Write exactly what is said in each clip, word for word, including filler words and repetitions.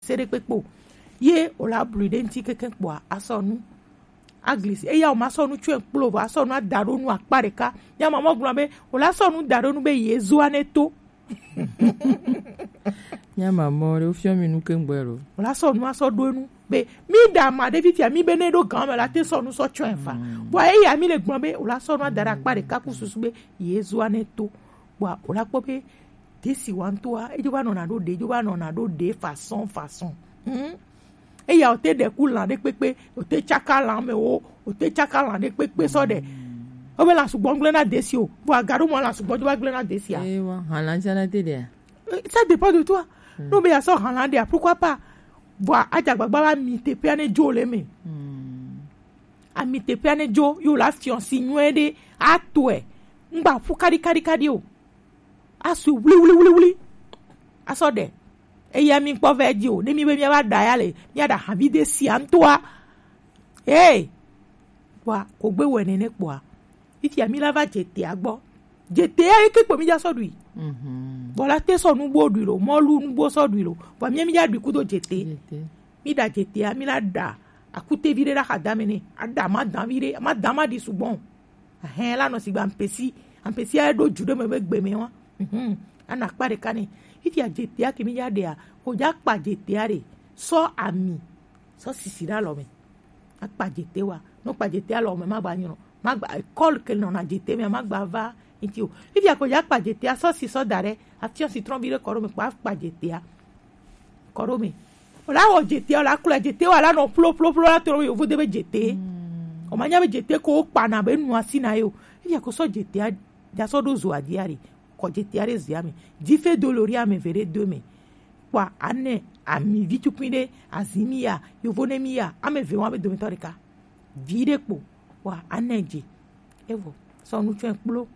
se ɖe kpekpe o. Ye o la blui ɖe ŋuti keke kpɔa, asɔ nu. Aglisi, eya o ma sɔ nu tsɔe kplo vɔ, asɔ nu ada ɖo nu akpa ɖeka. Nya ma mɔ gblɔ be, o la sɔ nu da ɖo nu be ye zua ne to. Nya ma mɔ ɖe, o fiɔ mi nu ke ŋgbɛ lo. O la sɔ nu asɔ ɖo nu be, mi da ma ɖe fifia, mi be ne ɖo gan me la te sɔ nu sɔ tsɔe fa. Bɔ eya mi le gblɔ be, o la sɔ nu ada ɖe akpa ɖeka ku susu be ye zua ne to. Bɔ o la kpɔ be, desi wa ŋutɔa, edzo va nɔna ɖo ɖe, edzo va nɔna ɖo ɖe façon, façon. Hmm? Eya o te ɖe ku lã ɖe kpekpe, o te tsaka lã me wo, o te tsaka lã ɖe kpekpe sɔ ɖe. O be lã sugbɔ gblẽ na desi o, vɔ aga ɖo mɔ lã sugbɔ dzo va gblẽ na desi a. Eh, wa, hã lã tsã na te ɖea? Eh, ça dépend de toi. Hmm. No be ya sɔ hã lã ɖea, pourquoi pas? Vɔ adza gbagba va mi teƒea ne dzo le me. Hmm. Ami teƒea ne dzo, yo la fiɔ si nyuie ɖe, atɔe. Ŋgba ƒu kaɖi kaɖi kaɖi o. Asu wli wli wli wli. Asɔ ɖe. Eya mi kpɔ vɛ dzi o. Ne mi be mi va ɖa ya le, mi ɖa havi de sia ŋutɔa. Hey. Kpɔa, ko gbe wɛ nene kpɔa. Fifia mi la va dze tea gbɔ. Dze tea yi ke kpo mi dza sɔ ɖui. Mhm. Bɔ la te sɔ nugbo ɖui lo, mɔlu nugbo sɔ ɖui lo. Bɔ mi mi dza ɖui kudo dze te. Dze te. Mi ɖa dze tea, mi la ɖa akutevi ɖe ɖa xadame ne. Aɖa ma dan vi ɖe, ma dan ma ɖi sugbɔ. Ahɛn la nɔ sigba ampesi, ampesi a ɖo ju ɖe me be gbe me wa. Mhm. Ana kpa ɖeka ne. Fifia dze tea ke mi ya ɖea, ko dza kpa dze tea ɖe. Sɔ ami, sɔ sisi ɖe alɔ me. Akpa dze te wa. No kpa dze te alɔ me ma gba nyɔ. Ma gba école ke nɔ na dze te me ma gba va. Iti o. Fifia ko dza kpa dze tea sɔ si sɔ da ɖe. Afiɔ si trɔn bi ɖe kɔ ɖo me kpa kpa dze tea. Kɔ ɖo me. O la wɔ dze tea, o la klɔ dze te wa la nɔ plo plo plo la to yovo de be dze te. O ma nya be dze te ko kpa na be nu asi na yo. Fifia ko sɔ dze tea dza sɔ ɖo zo adia ɖe. Kɔ dze tea ɖe zia me. Dzi fe do lori ame ve ɖe do me. Kpɔa, anɛ ami vi tukui ɖe, azi mi ya, yovo ne mi ya, ame ve wa be dometɔ ɖeka. Vi ɖe kpo, kpɔa, anɛ dze. Evo, sɔ nu tsɔe kplo,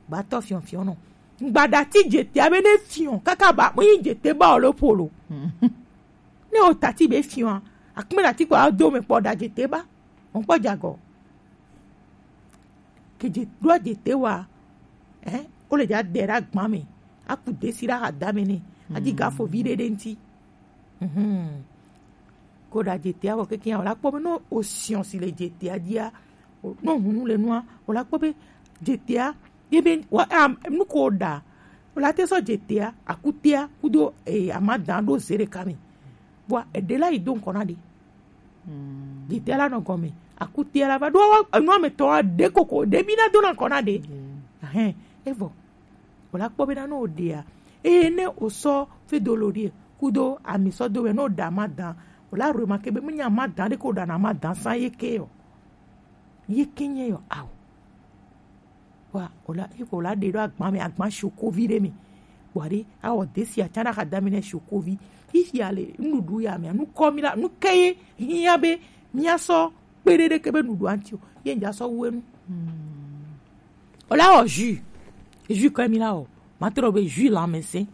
gbatɔ fiɔfiɔ nɔ. Ŋgba ɖati dze te abe ne fiɔ, kaka ba, mo yi dze te ba o lo polo. Ne o tati be fiɔ, akme ɖati kpɔ ado me kpɔ ɖa dze te ba, mo kpɔ jagɔ. Ke dze ɖo dze te wa, eh, o le dza de ɖa gba me, aku desi ɖa ha da me ne, adi ga fo vi ɖe ɖe ŋti. Mhm. Ko ɖa dze te a vɔ keke ya, o la kpɔ be no o siɔ si le dze te a dia, o, no hunu le nua, o la kpɔ be dze te a, ye be, wa, am, nu ko o ɖa, o la te sɔ dze te a, aku te a, kudo, eh, ama dan ɖo ze ɖeka me. Bua, eɖe la yi do ŋkɔ na ɖe. Dide la nɔ gɔme. Akute la va ɖo enua me tɔ ɖe koko ɖe mi na do na kɔ na ɖe. Ahɛn, evɔ. O la kpɔ be na no ɖea. Eye ne o sɔ fe do lo ɖie. Kudo ami sɔ do wɛ no ɖa ma dan. O la remarquer be mi nya ma dan ɖe ko ɖa na ma dan san ye ke yɔ. Ye ke nye yɔ ao. Wa, o la, iko la ɖe ɖo agba me, agba shokovi ɖe me. Bua ɖe, awɔ desi atsa na xadami ne shokovi. Xixia le nuɖuɖu ya me, nu kɔ mi la, nu ke ye hiã be mia sɔ kpe ɖe ɖe ke be nuɖuɖu anti o. Ye ŋdza sɔ wu enu. O la wɔ jus. Jus kɔ mi la wɔ. Ma trɔ be jus lãmesẽ.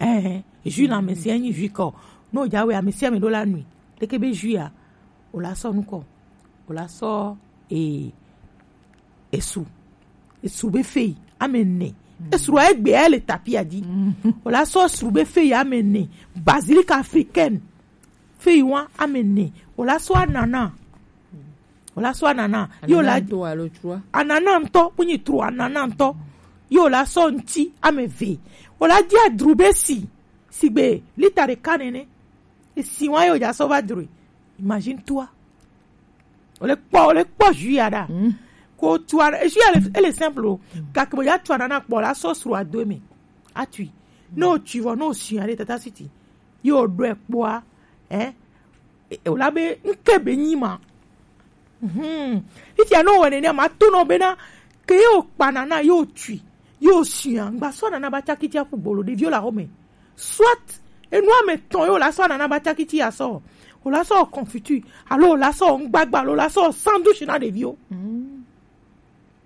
Eh, jus lãmesẽ nyi jus kɔ. No dza wɛ amesẽ me ɖo la nui. Ɖe ke be jus ya. O la sɔ nu kɔ. O la sɔ, eh, Esu. Esu be fei, ame ene. Esu a egbe ele tapia dzi. O la sɔ esu be fei ame ene. Basilic africaine. Fei wa ame ene. O la sɔ anana. O la sɔ anana. Yo la anana ŋutɔ alo trua? Anana ŋutɔ, kunyi tro anana ŋutɔ. Yo la sɔ ŋti ame eve. O la dia drubesi. Sigbe lita ɖeka nene. Esi wa yo dza sɔ va drui. Imagine toi. O le kpɔ, o le kpɔ jus ya ɖa. Ko tu a, jus ya le, ele simple o. Gake bo ya tu anana kpɔ la sɔ sro ado me. Atui. No tu vɔ, no si ya ɖe tata siti. Yo ɖɔe kpɔa, eh? E, o la be ŋke be nyi ma. Mhm. Fifia no wɔ nene ma to no be na ke yo kpa nana yo tui. Yo si ya, ngba sɔ nana ba tsaki tsia ƒu gbolo ɖeviwo le axɔme. Soit enua me tɔn yo la sɔ anana ba tsaki tsi asɔ. O la sɔ confiture, alo o la sɔ ŋgbagba, alo o la sɔ sandwich na ɖeviwo.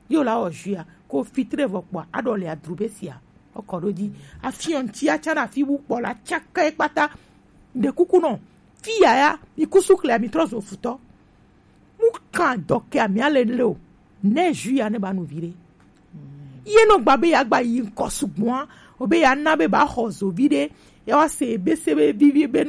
Yo la wɔ jus ya, ko fitre vɔ kpɔa, aɖɔ le adrube sia. Okɔ ɖo dzi. Afiɔ ŋtsi atsa na afi wu kpɔ la tsaka ye kpata. Ɖe kuku nɔ. Fi ya ya, mi kusu kle mi trɔ zo futɔ. Mu kan dɔ ke ami ale le o. Ne jus ya ne ba nu vi ɖe. Ye no gba be ya gba yi ŋkɔ sugbɔa, o be ya na be ba xɔ zo vi ɖe. ya wa se be se be vivi be nu